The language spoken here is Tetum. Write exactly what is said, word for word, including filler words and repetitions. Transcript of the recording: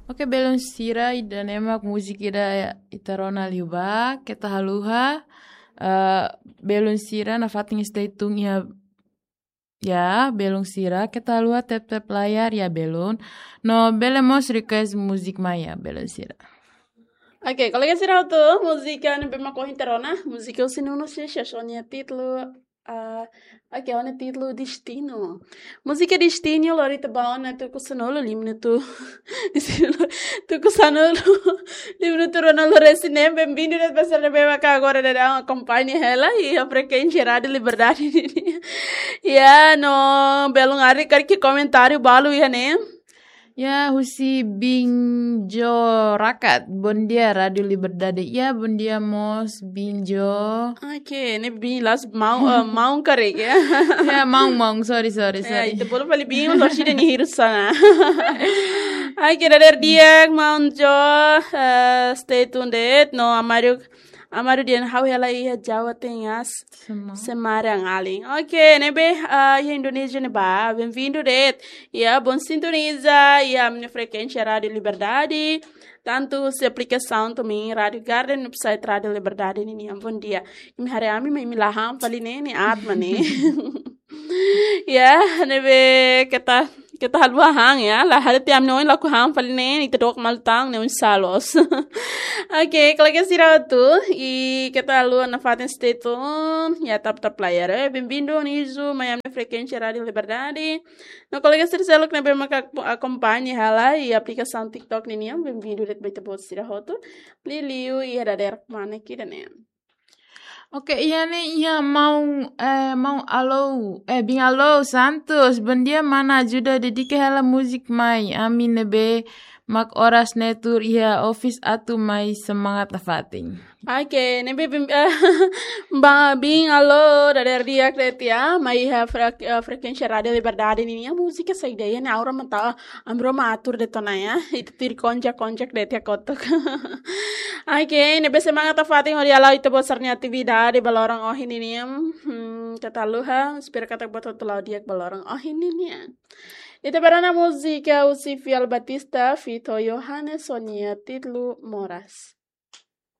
Oke, belun sira, ida-ne'e mak múzika ida ita rona liubá, keta haluha. Eh, belun sira nafatin stay tune iha, ya, belun sira, keta haluha tap-tap layar, ya, belun. No bele mós request múzika mai, ya, belun sira. Oke, kolega sira hotu, múzika ne'ebé mak ohin ita rona, múzika husi Nuno Seixas, ho nia títulu, ah, oke, ho nia títulu Destino. Múzika Destino, lori ita ba ona tuku sanulu, lima minutu. Destino, tuku sanulu, lima minutu rona lori sinem, benvindu de'it ba sira ne'ebé mak agora daudaun akompaña hela iha frekuénsia Rádiu Liberdade. Ya, no, belun ari karik komentáriu balu iha ne'e. Ya, husi Binjo Rakat. Bondia, Rádiu Liberdade. Ya, bondia mós, Binjo. Oke, ne'e bin las maun, eh, maun karik, ya. Ya, maun, maun. Sorry, sorry, Ya, sorry. ita bolu fali bin, lori sida nia hirus ona. Oke, dadeer di'ak, maun Jo, eh, stay tuned de'it. No, Amaru, Amaru dehan ha'u hela iha Jawa Tengah. Sema. Semarang alin. Oke, ne'ebé, ah, iha Indonézia ne'ebá, benvindu de'it. Ya, bom sintoniza, ya, ami-nia frekuénsia Rádiu Liberdade. Tantu husi aplikasaun tomin Rádiu Garden, website Rádiu Liberdade ninian, bondia. Imi haree ami, maibé imi la han fali ne'e, ne'e aat mak ne'e. Ya, ne'ebé keta, keta haluha han, ya. La haree tiha ami-nia oin lakohi han fali ne'e, ita dook malu tan, ne'e oinsá loos. Oke, kolega sira hotu, i keta haluha nafatin stay tune, ya, tap-tap layar, eh. Benvindu, Nizu, mai ami-nia frekuénsia Rádiu Liberdade. No kolega sira seluk ne'ebé mak ak-, akompaña hela iha aplikasaun TikTok ninian, benvindu de'it ba ita-boot sira hotu. Liuliu iha dadeer kmanek ida-ne'e. Oke, iha ne'e iha maun, eh, maun Alou, eh, bin Alou Santos, bondia mana, ajuda dedika hela múzika mai, ami ne'ebé mak oras ne'e tuur iha office atu mai semangat nafatin. Oke, ne'ebé bin, eh, ba bin Alou, dadeer di'ak de'it ya, mai iha frek-, eh, frekuénsia Rádiu Liberdade ninian, múzika saida iha ne'e, aura mata, amro matur de'it ona ya, ita tuir konjak-konjak de'it ya kotuk. Oke, ne'ebé semangat nafatin hodi hala'o ita-boot sira-nia atividade ba loron ohin ninian. Hmm, keta haluha, espera katak buat hotu la'o di'ak ba loron ohin ninian. Ita bá rona múzika husi Fiel Batista, feat Johannes ho nia títulu Moras.